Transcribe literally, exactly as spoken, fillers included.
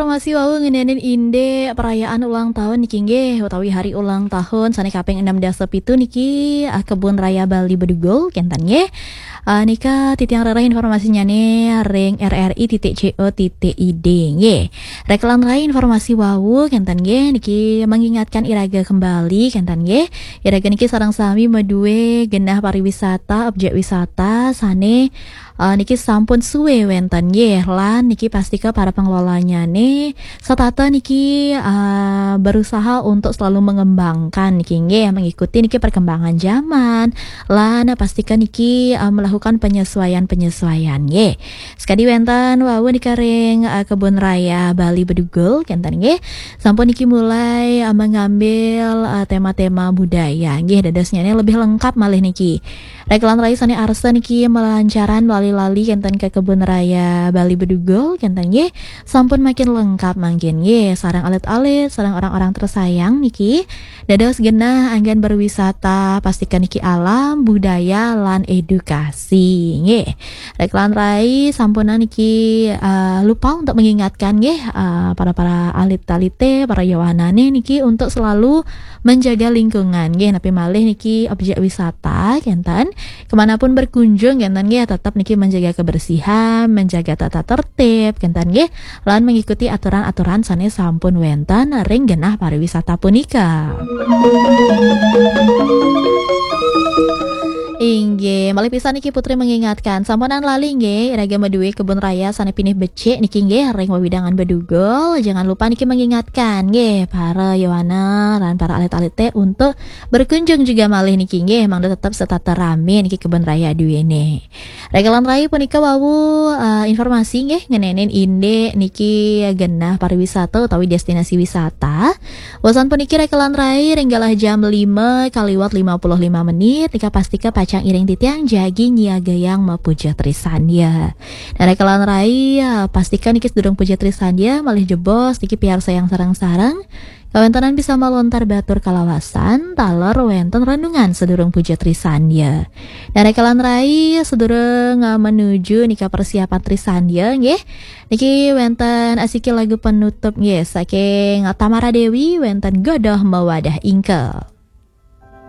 Informasi wau ngenenin inde perayaan ulang tahun niki nggih, utawi hari ulang tahun sane kaping enam dasa pitu niki, ah, Kebun Raya Bali Bedugul kenten nggih. Ah, nika titiang rereh informasinyane ring R R I titik C O titik I D nggih. Rekelan rai informasi wau kenten nggih, niki mengingatkan iraga kembali kenten nggih. Iraga niki sareng sami madue genah pariwisata, objek wisata sane, eh, niki sampun suwe wenten nggih, lan niki pastika para pengelolanyane setata niki, eh, berusaha untuk selalu mengembangkan niki nggih, mengikuti niki perkembangan zaman, lan pastika niki, eh, melakukan penyesuaian-penyesuaian nggih. Sekadi wenten wau nika ring, eh, Kebun Raya Bali Bedugul kenten nggih. Sampun niki mulai, eh, mengambil, eh, tema-tema budaya nggih, dadosnyane lebih lengkap malih niki. Rekelan rai sane arsa niki melancaran lali-lali kenten ke Kebun Raya Bali Bedugul kenten nggih. Sampun makin lengkap mangkin nggih, sareng alit-alit, sareng orang-orang tersayang niki. Dados genah anggen berwisata, pastikan niki alam, budaya, lan edukasi nggih. Rekelan rai sampunang niki, eh, lupa untuk mengingatkan nggih, eh, para-para alit-alite, para yowanane niki untuk selalu menjaga lingkungan nggih, napi malih niki objek wisata kenten. Kemanapun berkunjung kenten nggih, tetap niki menjaga kebersihan, menjaga tata tertib kenten nggih, lan mengikuti aturan-aturan sane sampun wenten ring genah pariwisata punika. Inggih, malih pisan niki Putri mengingatkan, sampunang lali nggih, iraga madue kebun raya sane pinih becik niki nggih, ring wewidangan Bedugul. Jangan lupa niki mengingatkan nggih, para yowana lan para alit-alite untuk berkunjung juga malih niki nggih, mangda tetap setata rame niki kebun raya duene. Rekelan rai punika wau, eh, informasi nggih, ngenenin indik niki genah pariwisata utawi destinasi wisata. Wasan puniki rekelan rai ring galah jam lima kaliwat lima puluh lima menit, nika pastika pacang iring titiang jagi nyiagayang mapuja Trisandya. Nah, rekelan rai, eh, pastika niki sedurung puja Trisandya, malih jebos niki piarsayang sareng-sareng. Kawentenan bisa malontar batur kalawasan, taler wenten renungan sedurung puja Trisandya. Nah, rekelan rai sedurung, eh, menuju nika persiapan Trisandya nggih. Niki wenten asiki lagu penutup nggih saking Tamara Dewi, wenten Godoh Mawadah Ingkel.